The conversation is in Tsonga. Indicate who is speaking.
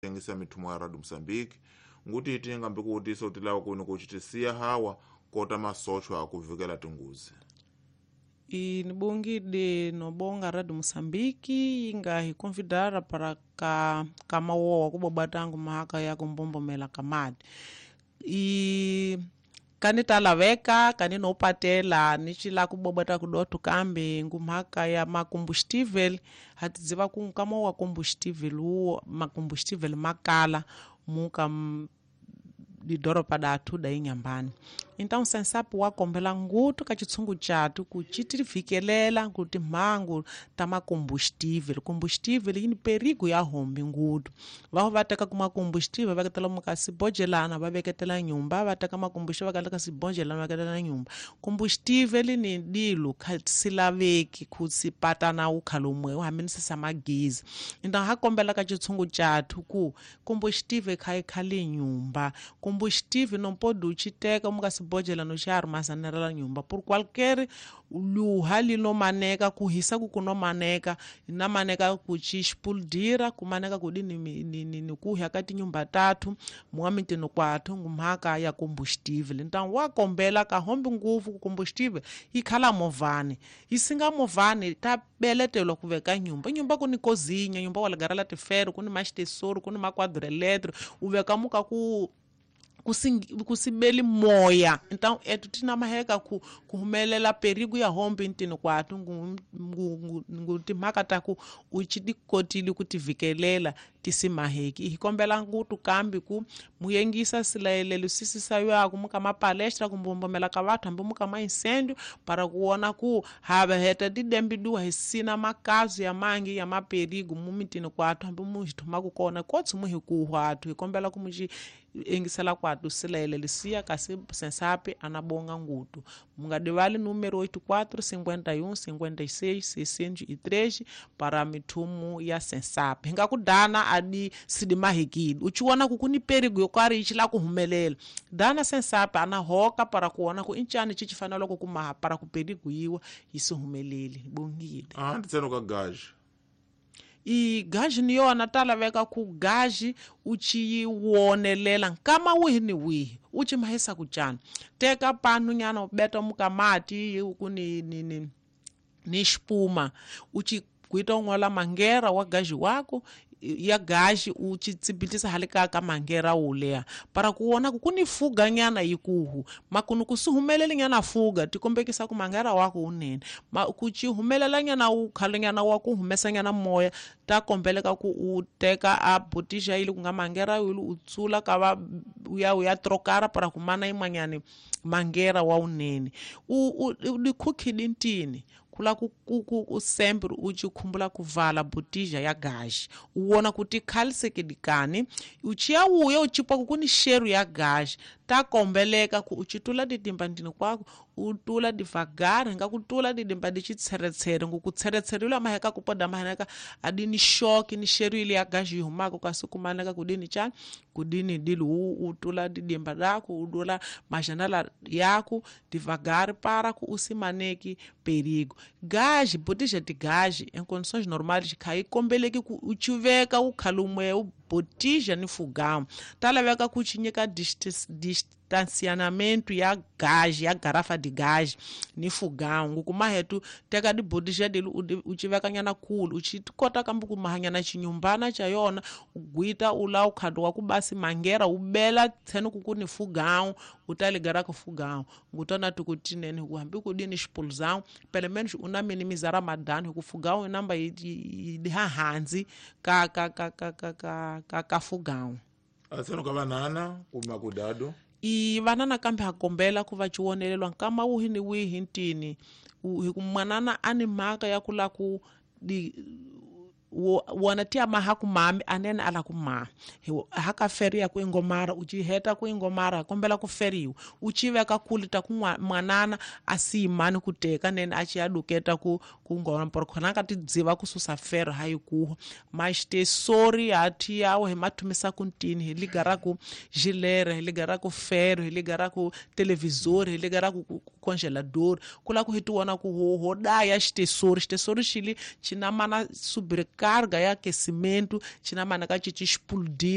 Speaker 1: Tengisa mithumo ya Radio Moçambique nguti tingambi kuwutisa utilawa kuni kucitisiya hawa kota masochwa akuvikela tinguzi.
Speaker 2: Nibongile nobonga Radio Moçambique inga hiconvidara para ka kamawowa kuboba tangu mahaka ya kumbombomela kamadi i kani talaveka kani nopatela nicila kubobota kudotu kambe ngumhaka ya macombustível hatidziva ku nkama wa combustível uwo macombustível makala muka lidoropa datu da Inhambane. Então sensapo wakombela ngutu ka chitsungu chatu kuchitirivhikelela kuti mhangu ta macombustível combustível yini perigo ya hombi ngutu vaho va teka kuma combustível va veketela muka sibhojelana va veketela nyumba va teka macombustível va ka sibhojelana va veketela nyumba combustível ni dilo kha silaveki ku sipatana ukhalomwe u hamenisisa magizi. Então ha kombela ka chitsungu chatu ku combustível kha khale nyumba combustível não pode uchiteka muka sibojela no xi armazenela nyumba por qualquer luha linomaneka kuhisa ku kunomaneka na maneka ku ci explodira kumaneka kudini ni kuhya ka tinyumba tatu muamitini kwathu ngumhaka ya combustível. Então wakombela ka hombi nguvu ku combustível yi khala movhani yi singa movhani ta beletelwa ku veka nyumba nyumba ku ni kozinya nyumba wa ligara tifero ku ni maxitesoro ku ni maquadro eletro u veka muka ku kusibeli moya. Então etu tina maheka ku kuhumelela perigo ya hombi ntini kwatu ngu timhaka ta ku uchidikotile ku tivikelela tisimaheki hikombela ngutu kambi ku muyengisa silayelelo sisisa yaku muka mapalestra kumbombomela ka vathu hambi muka maincêndio para kuona ku hava heta didembiduwa hisina makazu ya mangi ya maperigo mumitini kwathu hambi muhithuma kukona kotsi muhikuhwa athu hikombela ku muci engisela kwatu silayelelo siya kasi sensapi anabonga ngutu mungadivali número 84 51 56 603 para mithumu ya sensapi hingakudana adi sidimahikile uchiona ku kuni perigo yokari ichila kuhumelela dana sensapi anahoka para kuona ku incani chichifanela ku kumaha para ku perigo yiwa yisihumeleli bongile.
Speaker 1: Nditseno ka gaji
Speaker 2: i gaji ni yona ta laveka ku gaji u ci wonelela nkama wihi ni wihi u ci mahisa ku cana teka panu nyana u beta muka mati ku ni xipuma u ci kuita un'wala mangera wa gaji wako ya gaji u ci tsibitisa hale ka ka mangera wo leha para ku wona ku kuni fuga nyana yikuhu makunu ku si humeleli nyana fuga tikombekisa ku mangera wako unene ma ku ci humelela nyana u khale nyana wa ku humesa nyana moya ta kombeleka ku u teka a botija ili ku nga mangera yulu u tsula ka va u ya trokara para ku mana yin'wanyani mangera wa unene u dikhukhidi ntini kula ku sempre u ci khumbula ku vala botija ya gaji u wona ku ti khalisekedikani u ciya wuya u cipa ku ni xeru ya gaji ta kombeleka ku u ci tula didimba ndini kwako u tula devagar nga ku tula didimba di xitsheretshere ngu ku tsheretshere maheka ku poda maheka a di ni xoki ni xeru ile ya gaji yi humaka kasi kumaneka ku dini cani ku dini dili u tula didimba daku u dula majanela yaku devagar para ku u simaneki perigo. Gaji botija de gaji em condições normais kai kombeleki ku u chiveka u khalumwe u botija ni fogão ta laveka ku chinyika distanciamento ya gaji ya garrafa de gás ni fogão ngukuma hetu teka di botija dele u chiveka nyana kulu u chi kota kambe ku mahanyana chinyumbana cha yona u gwita u la u khado wa ku basi mangera u bela tseno ku ku ni fogão u ta ligara ku fogão ngutona tukutinene ku hambi ku dini xipuluzão pelo menos una minimizar madano ku fogão namba yi hanzi ka ka ka ka ka ka ka ka fogão.
Speaker 1: Atseno ka vanana kuma kudado
Speaker 2: i vanana kambe ha kombela ku va chiwonelelwa nkama wihi ni wihi ntini hi ku manana a ni mhaka ya ku la ku di wona ti amaha ku mami anene ala ku ma haka feria ku ingomara u ci heta ku ingomara kombela ku feriwa u ci veka kuli ta ku mwanana a si mani ku teka nene a ci ya duketa ku ngoma por khona ka ti dziva ku susa fero ha yikuha maxitesori ha ti yawo hi mathumisa ku ntini hi ligara ku gilere hi ligara ku fero hi ligara ku televisor hi ligara ku congelador kula ku hitiwona ku ho daya xitesori xitesori xili xina mana sobrecarga ya aquecimento xina mana ka xi xi explodir.